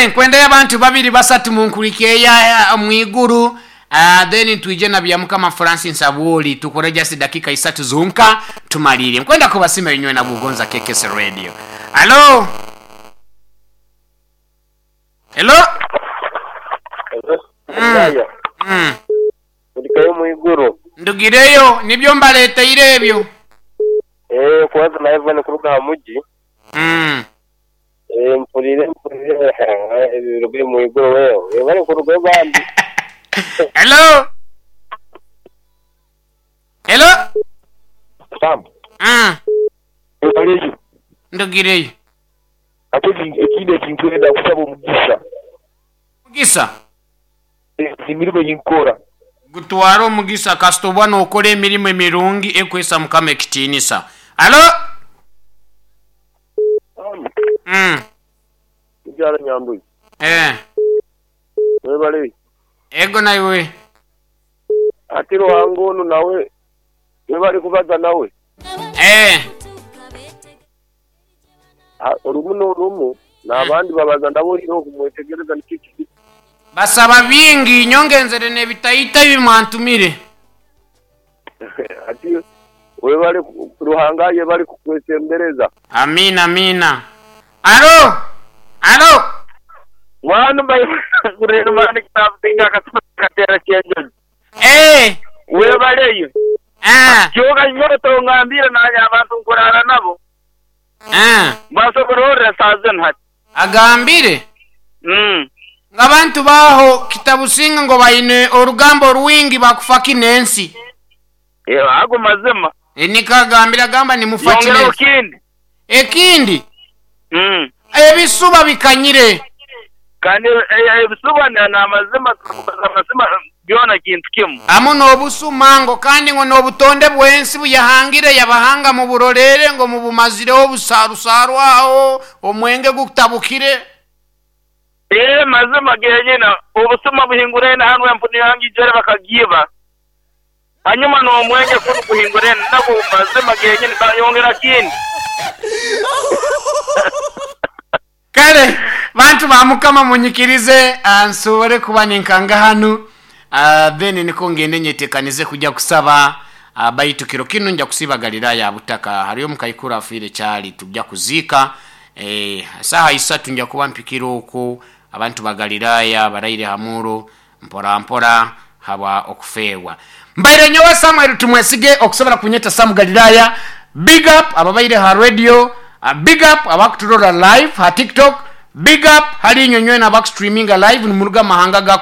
Kale nkwendayo abantu babiri basatu munkurikeya mwiguru then twije na Byamukama Francis Abwoli tukore just dakika isatu zonka tumalire. Nkwenda kubasima inywe na Bugonza KKS Radio. Hello. Hello. Mukaya. Ndikayo mwiguru. Ndugireyo nibyo mbaleteire ebyo. Eeh kwanza na Ivan kuruga aha mugi. Eeh mpuriire mpuriire ebiruga mwiguru wewe. Webare kurugayo bambi. Hello. Hello. Sam. Webareyo. Ndugireyo. Ate ekindi ekinkwenda nkusaba omugisa. Omugisa? Emirimo ei nkukora. Gutware omugisa kasita oba nokora emirimo emirungi ekuhaisa Mukama ekitiinisa. Halo? Sam. Mukyala Nyambuyi. Eh. Webale. Ego naiwe. Ati Ruhanga onu nawe webale kubaza nawe. Eh. Orumu n'orumu n'abandi babaza nabo oihireho kumwetegereza nikyo kiri. Basaba bingi nyowe ngenzere n'ebitaito ebi mwantumire. Ati webale Ruhanga ayebale kukwesembereza. Amiina amiina. Alo! Alo! Mwana Eeh. Webaleyo. Eeh. Kyoka nyowe tongambire nanye abantu nkurara nabo. Eeh. Mbasobora orira saaha zinu hati. Agambire ngu abantu baaho Kitabusinga ngu baine orugambo rwingi bakufa ki n'ensi. Ago mazima. Nikwo agambire agamba nimufa ki Yongeraho n'ensi. kindi. Ekindi, ebisuba bikanyire. Kandi ebisuba n'amazima turikubaza amazima byona kintu kimu. Hamu n'obusuma ngo kandi ngu n'obutonde bw'ensi buyahangire yabahanga muburorere ngo mubumazireho obusarusaaru aho omwenge gutabukire. Ee mazima genyine obusuma buhinguraine hanu empunu yange ijwere bakagiiba hanyuma n'omwenge kunu guhinguraine nagwo mazima genyine bayongera kindi. Kale bantu ba Mukama munyikirize nsobore kuba ninkanga hanu then nikwo ngende nyetekanize kugya kusaba baitu kiro kinu nja kusiiba Galilaya butaka hariyo omukaikuru afiire kyali tugya kuziika saaha isatu nja kuba mpikire okwo abantu ba Galilaya baraire ha muuro mpora mpora habwa okufeerwa. Mbaire nyowe Samuel Tumwesige okusobora kunyeta Sam Galilaya big up ababaire ha radio big up abakuturora live ha tiktok big up hali inywe nywena abakustreaminga live nimuruga mahanga ga.